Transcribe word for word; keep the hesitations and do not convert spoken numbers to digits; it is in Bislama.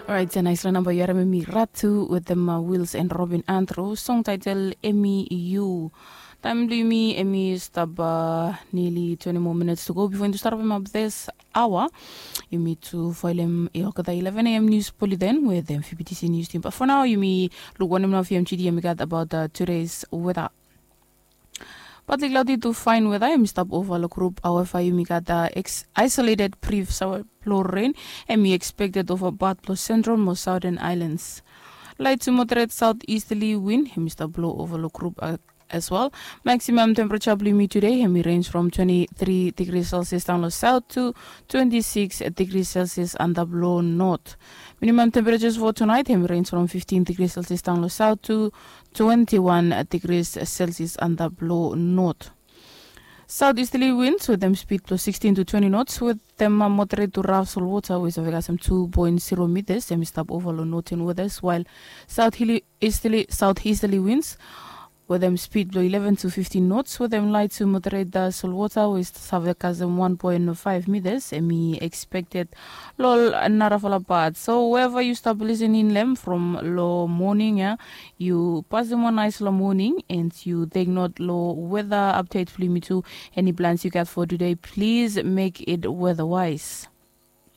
Orait, se naisla namba yu harim em i Ratu wetem Wils en Robin Andrew. Song taitel em i yu. Taem blong yumi em i stap nili twenti moa minits tu go bifo yumi tu stap apem ap this aoa. Yumi tu faelem i olgeta eleven a.m. nius bulletin wetem fibitisi nius tim, bat fo nao yumi luk wanem nao fia em tidi em i gat abaot tudes weta. Partly cloudy to fine weather em i stap ova long grup. However, yumi gat isolated brief sawa blong rain em i expected ova part blong central mo southern islands. Light to moderate southeasterly wind em i stap blo ova long grup as well. Maximum temperature blong yumi today em i range from twenty-three degrees Celsius down long south to twenty-six degrees Celsius antap long north. Minimum temperatures for tonight em i range from fifteen degrees Celsius down long south to twenty-one degrees Celsius antap long north. Southeasterly winds wetem speed blong sixteen to twenty knots wetem moderate to rough sol water we save kasem two point zero meters em i stap ova long northern waters, while southeasterly, southeasterly winds wetem speed blong eleven to fifteen knots wetem light to moderate sol water we save kasem one point five meters em i expected long narafala part. So wherever yu stap listening long em from long morning ya, yu pasem wan naisfala morning and yu take note long weather update blong yumi tu. Any plans yu gat for today, please make it weather wise.